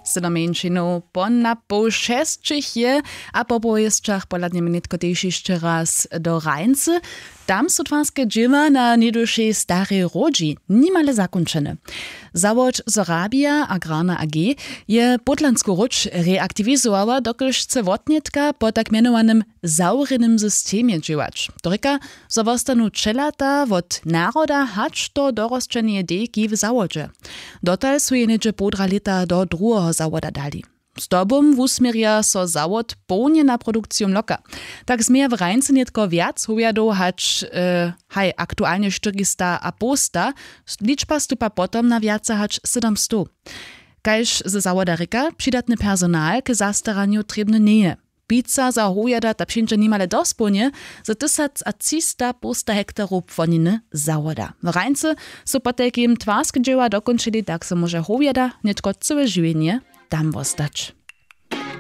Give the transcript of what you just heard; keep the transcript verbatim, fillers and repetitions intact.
Sydomjeńšinow po napoł šesćich je, a po powěsćach pohladnjemy nětko tež hišće raz do hrańcy. Tam su twarske dźěła na něhdyšej starej hródźi nimale zakónčene. Zawod Sorabia agrarna a g je pódlansku hródź reaktiwizowała, dokelž chce wotnětka po tak mjenowanym zawrjenym systemje dźěłać. To rěka, zo wostanu ćelata wot naroda hač do dorosćeneje dejki w zawodźe. Dotal su je něhdźe połdra lěta do druheho zawoda dali. Zdobom wusměrja so zawod połnje na produkciju mloka. Tak změja w hrańcy nětko wjac howjadow hač e, haj aktualnje štyrista a połsta. Ličba stupa potom na wjace hač sydomstow. Kaž ze zawoda rěka, přidatny personal k zastaranju trěbny njeje. Pica za howjada ta přińdźe nimale dospołnje, z tysac a třista połsta hektarow płoniny zawoda. W hrańcy su potajkim twarske dźěła dokónčili, tak so móže howjada nětko cyłe žiwjenje tam wostać.